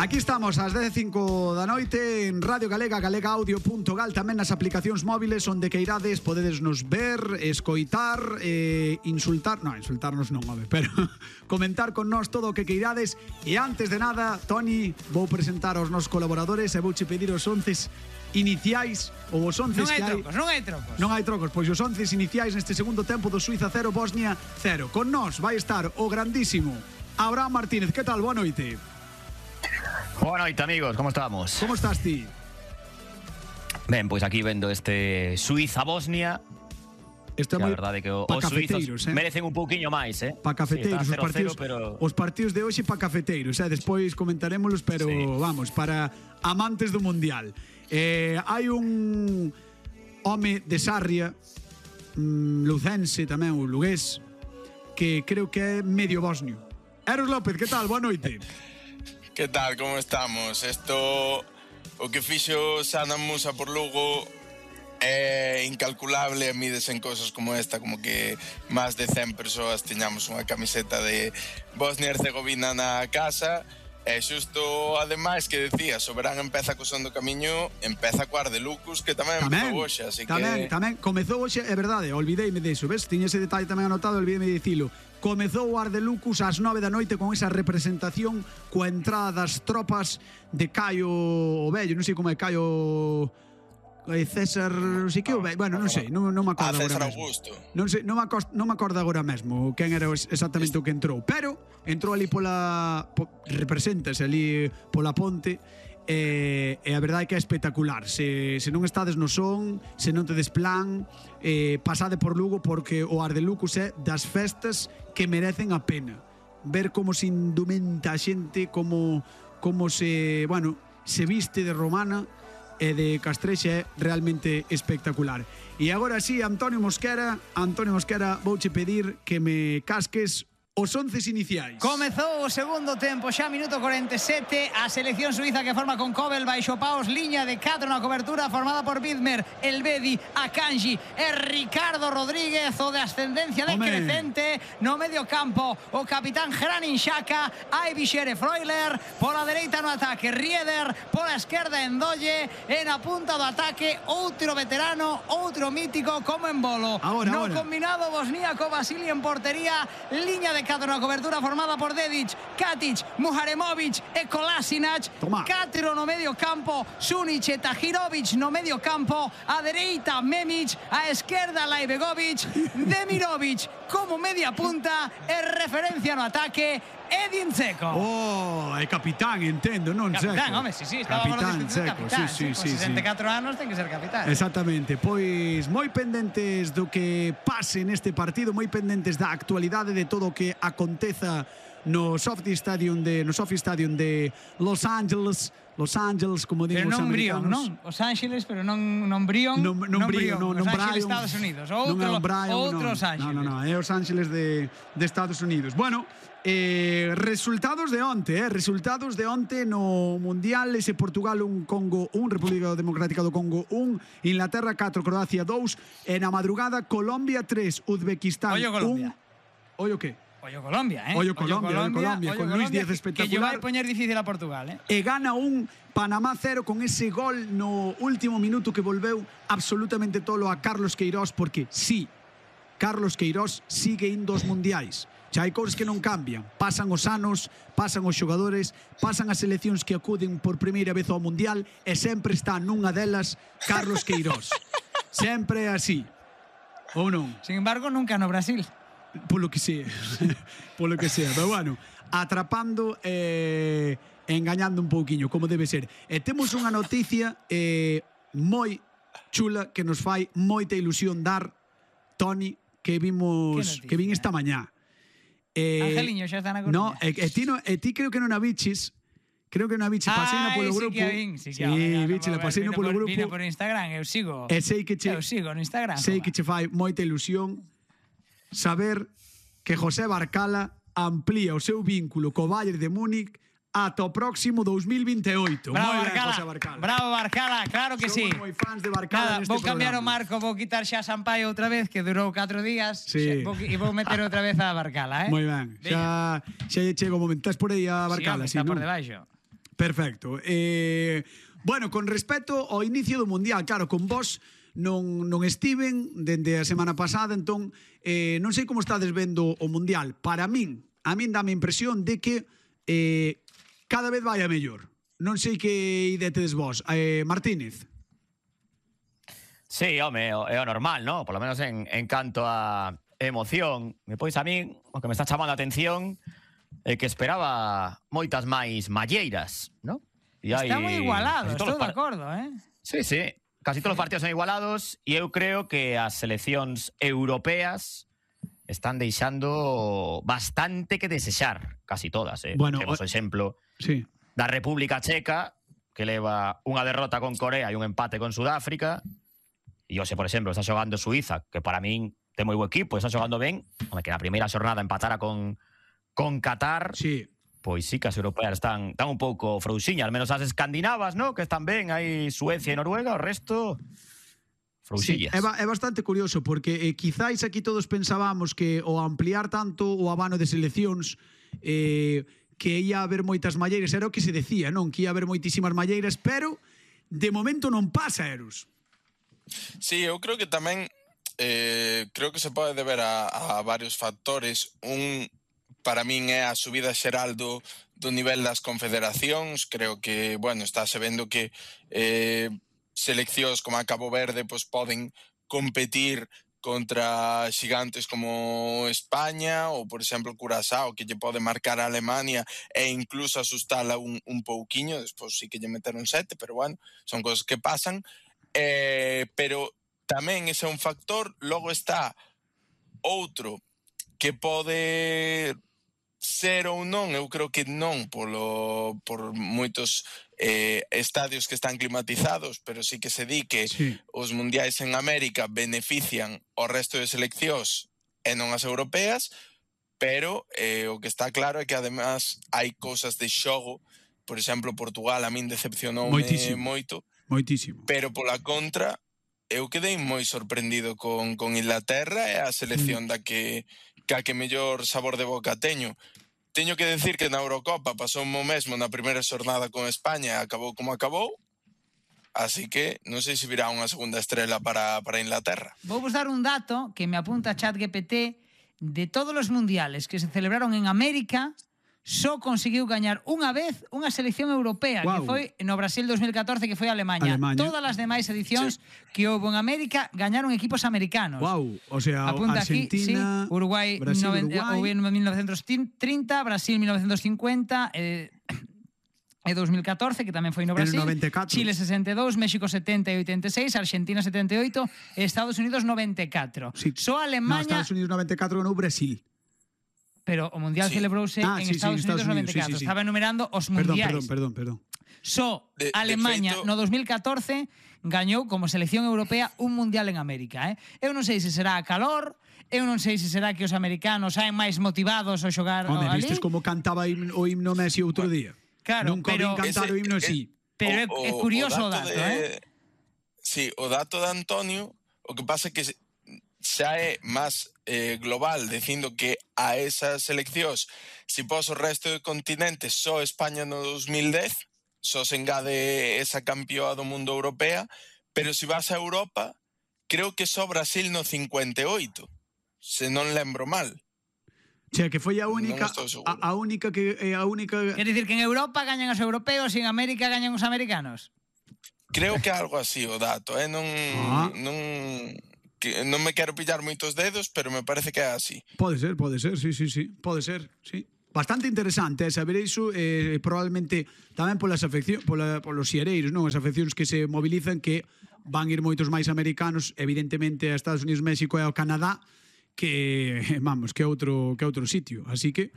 Aquí estamos ás 10:05 da noite en Radio Galega, galegaaudio.gal, tamén nas aplicacións móviles onde queirades podedes nos ver, escoitar, insultarnos non, home, pero comentar con nós todo o que queirades. E antes de nada, Toni, vou presentar aos nosos colaboradores e vouche pedir os 11 iniciais ou os 11 que hai. Non hai trocos, pois os 11 iniciais neste segundo tempo do Suiza 0, Bosnia 0. Con nós vai estar o grandísimo Abraham Martínez. Que tal? Boa noite. Boa noite, amigos, como estamos? Como estás ti? Ben, pois aquí vendo este Suiza-Bosnia. Isto é moi verdade que os suizos merecen un pouquiño máis, Pa cafeteiros, sí, os partidos de hoxe pa cafeteiros, despois comentarémolos, pero sí, vamos, para amantes do Mundial. Hai un home de Sarria, lucense tamén, o lugués, que creo que é medio bosnio. Eros López, que tal? Boa noite. Que tal, como estamos? Esto, o que fixo Sana Musa por Lugo é incalculable, mides en cosas como esta, como que máis de 100 persoas tiñamos unha camiseta de Bosnia e Herzegovina na casa. E xusto, ademais, que decía, Soberán empeza co son do camiño, empeza co Ardelucus, que tamén empezou hoxe, así que... Tamén, comezou hoxe, é verdade, olvideime deso, ves? Tiña ese detalle tamén anotado, olvideime de dicilo. Comezou o Ardelucus ás 9 da noite con esa representación coa entrada das tropas de Caio o Vello, non sei como é Caio... César, non sei que o Vello, bueno, non sei, non me acordo agora César mesmo. Augusto. Non sei, non me acordo agora mesmo quen era exactamente o que entrou, pero entrou ali represéntase ali pola ponte. E a verdade é que é espectacular. Se non estades no son, se non tedes plan, pasade por Lugo, porque o Ardelucus é das festas que merecen a pena. Ver como se indumenta a xente, como se, bueno, se viste de romana e de castrexa, é realmente espectacular. E agora sí, Antonio Mosquera, vouche pedir que me casques os 11 iniciais. Comezou o segundo tempo, xa minuto 47, a selección suiza que forma con Kobel, baixo paos, liña de 4 na cobertura formada por Widmer, Elvedi, Akanji e Ricardo Rodríguez, o de ascendencia decrecente no medio campo, o capitán Granit Xhaka, Aibixer e Freuler, pola dereita no ataque Rieder, pola esquerda Endolle, e na punta do ataque outro veterano, outro mítico como Embolo. No combinado bosníaco, Vasili en portería, liña de 4 na cobertura formada por Dedic, Katic, Muharemovic e Kolasinac. 4 no medio campo, Sunic e Tahirovic no medio campo, a dereita Memic, a esquerda Laibegovic, Demirovic como media punta e referencia no ataque Edin Dzeko. É capitán, entendo, non Dzeko. Capitán, home, sí, estaba capitán Dzeko, sí. 64 anos ten que ser capitán. Exactamente, pois moi pendentes do que pase neste partido, moi pendentes da actualidade de todo o que aconteza no Sophie Stadium de Los Angeles, como digo os americanos. Non? Os Ángeles, pero non Brion. Non Brion, Los Ángeles, Estados Unidos. Outros Ángeles. Non, é os Ángeles de Estados Unidos. Bueno, resultados de onte no Mundial, ese Portugal 1, Congo 1, República Democrática do Congo 1, Inglaterra 4, Croacia 2, e na madrugada Colombia 3, Uzbekistán 1. Ollo que? Ollo Colombia, Ollo Colombia, con Luis Díaz espectacular. Que lle vai poñer difícil a Portugal, E gana un Panamá 0 con ese gol no último minuto que volveu absolutamente tolo a Carlos Queiroz, porque sí, Carlos Queiroz sigue indo aos mundiais. Xa hai cousas que non cambian. Pasan os anos, pasan os xogadores, pasan as seleccións que acuden por primeira vez ao mundial, e sempre está nunha delas Carlos Queiroz. Sempre é así. Ou non? Sin embargo, nunca no Brasil. Polo que sea. Pero bueno, atrapando e engañando un pouquiño, como debe ser. E temos unha noticia moi chula que nos fai moita ilusión dar, Toni, que vin esta mañá. Angeliño xa está na Coruña. Ti creo que non a biches. Paseina polo grupo. Sí, biche, la paseina polo grupo. Vino por Instagram, eu sigo no Instagram. Sei que che fai moita ilusión saber que José Barcala amplía o seu vínculo co Bayern de Múnich ata o próximo 2028. Bravo, Barcala, claro que sí. Somos moi fans de Barcala neste programa. Vou cambiar o marco, vou quitar xa Sampaio outra vez, que durou 4 días, e vou meter outra vez a Barcala, Moi ben, xa chego o momento. Estás por aí a Barcala, está por debaixo. Perfecto. Bueno, con respecto ao inicio do Mundial, claro, con vos non estiven dende a semana pasada, entón non sei como estades vendo o Mundial. Para min, a min dame a impresión de que cada vez vai a mellor. Non sei que idetedes vos. Martínez. Sí, home, é o normal, ¿no? Por lo menos en canto a emoción. Pois a min, o que me está chamando a atención é que esperaba moitas máis malleiras, ¿no? Está moi igualado, estou de acordo, Sí, sí. Casi todos os partidos son igualados e eu creo que as seleccións europeas están deixando bastante que desexar. Casi todas, Bueno, temos o exemplo da República Checa, que leva unha derrota con Corea e un empate con Sudáfrica. E hoxe, por exemplo, está xogando Suiza, que para min ten moi bo equipo, está xogando ben. Home, que na primeira xornada empatara con Qatar. Sí. Pois sí que as europeas están un pouco frouxiñas, al menos as escandinavas, ¿no? Que están ben, hai Suecia e Noruega, o resto frouxillas. Sí, é bastante curioso, porque quizáis aquí todos pensábamos que ao ampliar tanto o abano de seleccións que ia haber moitas malleiras, era o que se decía, non? Que ia haber moitísimas malleiras, pero de momento non pasa, Eros. Sí, eu creo que tamén creo que se pode deber a varios factores. Para min é a subida xeral do nivel das confederacións. Creo que, bueno, estáse vendo que seleccións como a Cabo Verde pues, poden competir contra xigantes como España ou, por exemplo, Curazao, que lle pode marcar a Alemania e incluso asustala un pouquiño. Despois sí que lle meteron 7, pero bueno, son cosas que pasan. Pero tamén ese é un factor. Logo está outro que pode ser ou non, eu creo que non por moitos estadios que están climatizados, pero sí que se di que os mundiais en América benefician o resto de seleccións e non as europeas, pero o que está claro é que además hai cousas de xogo. Por exemplo, Portugal a min decepcionoume moito, pero pola contra eu quedei moi sorprendido con Inglaterra e a selección da que mellor sabor de boca teño. Teño que decir que na Eurocopa pasou o mesmo na primeira xornada con España e acabou como acabou, así que non sei se virá unha segunda estrela para Inglaterra. Vou vos dar un dato que me apunta ChatGPT. De todos os mundiales que se celebraron en América, só conseguiu gañar unha vez unha selección europea, que foi no Brasil 2014, que foi Alemanha. Todas as demais edicións que houve en América gañaron equipos americanos. O sea, apunta Argentina, aquí, Uruguai, Brasil, Uruguai. En 1930, Brasil 1950, e 2014, que tamén foi no Brasil, Chile 62, México 70 e 86, Argentina 78, Estados Unidos 94. Só Alemanha... No, Estados Unidos 94 no Brasil. Pero o Mundial celebrouse en Estados Unidos 94. Estaba enumerando os mundiais. Perdón. Só Alemanha no 2014 gañou como selección europea un mundial en América. Eu non sei se será a calor, eu non sei se será que os americanos saen máis motivados ao xogar ali. Vistes como cantaba o himno Messi outro día? Claro, nunca vin cantar o himno así. Pero é curioso o dato, Sí, o dato de Antonio, o que pasa é que xa é máis global, dicindo que a esas seleccións, se pos o resto do continente, só España no 2010, só se engade esa campeoa do mundo europea, pero se vas a Europa, creo que só Brasil no 58, se non lembro mal. O sea, que foi a única Quer dicir que en Europa gañan os europeos e en América gañan os americanos? Creo que algo así o dato, non me quero pillar moitos dedos, pero me parece que é así. Pode ser, sí. Pode ser, sí. Bastante interesante saber iso, probablemente tamén polos xereiros, non? As afeccións que se mobilizan, que van ir moitos máis americanos, evidentemente a Estados Unidos, México e ao Canadá, que é outro sitio. Así que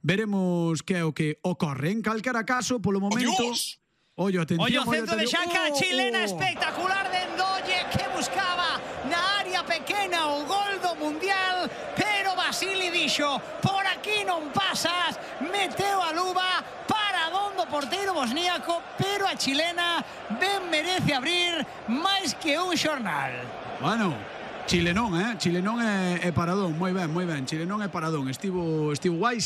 veremos que é o que ocorre. En calquera caso, polo momento... Ollo, atención. Ollo, centro de Xaca, chilena espectacular de Endolle, que buscaba na área pequena o gol do Mundial, pero Basili dixo, por aquí non pasas, meteu a luva para dondo porteiro bosníaco, pero a chilena ben merece abrir máis que un xornal. Bueno, chilenón é paradón, moi ben, chilenón é paradón, estivo guai,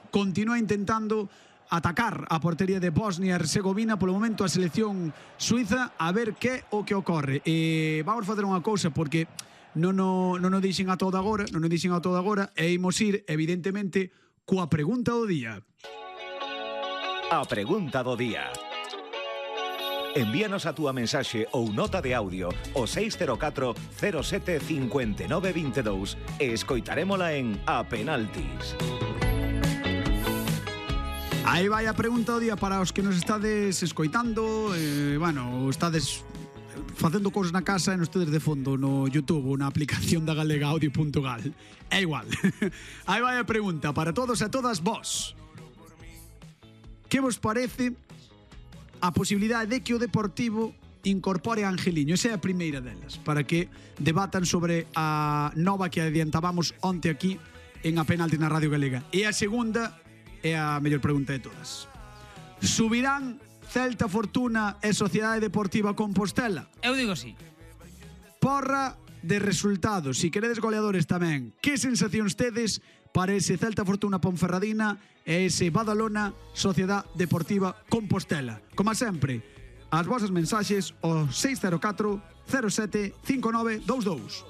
continúa intentando atacar a portería de Bosnia e Herzegovina. Polo momento a selección suiza a ver que o que ocorre. Vamos facer unha cousa porque non o dixen a todo agora, e imos ir evidentemente coa pregunta do día. A pregunta do día. Envíanos a túa mensaxe ou nota de audio ao 604 07 59 22 e escoitarémola en A Penaltis. Aí vai a pregunta do día para os que nos estades escoitando, estades facendo cousas na casa e nos tedes de fondo no YouTube ou na aplicación da Galega Audio.gal. É igual. Aí vai a pregunta para todos e todas vos. Que vos parece a posibilidade de que o Deportivo incorpore a Angeliño? Esa é a primeira delas, para que debatan sobre a nova que adiantábamos onte aquí en A Penalti na Radio Galega. E a segunda é a mellor pregunta de todas. Subirán Celta Fortuna e Sociedade Deportiva Compostela? Eu digo sí. Porra de resultados. Si queredes goleadores tamén. Que sensacións tedes para ese Celta Fortuna Ponferradina e ese Badalona Sociedade Deportiva Compostela? Como sempre, as vosas mensaxes ao 604 07 59 22.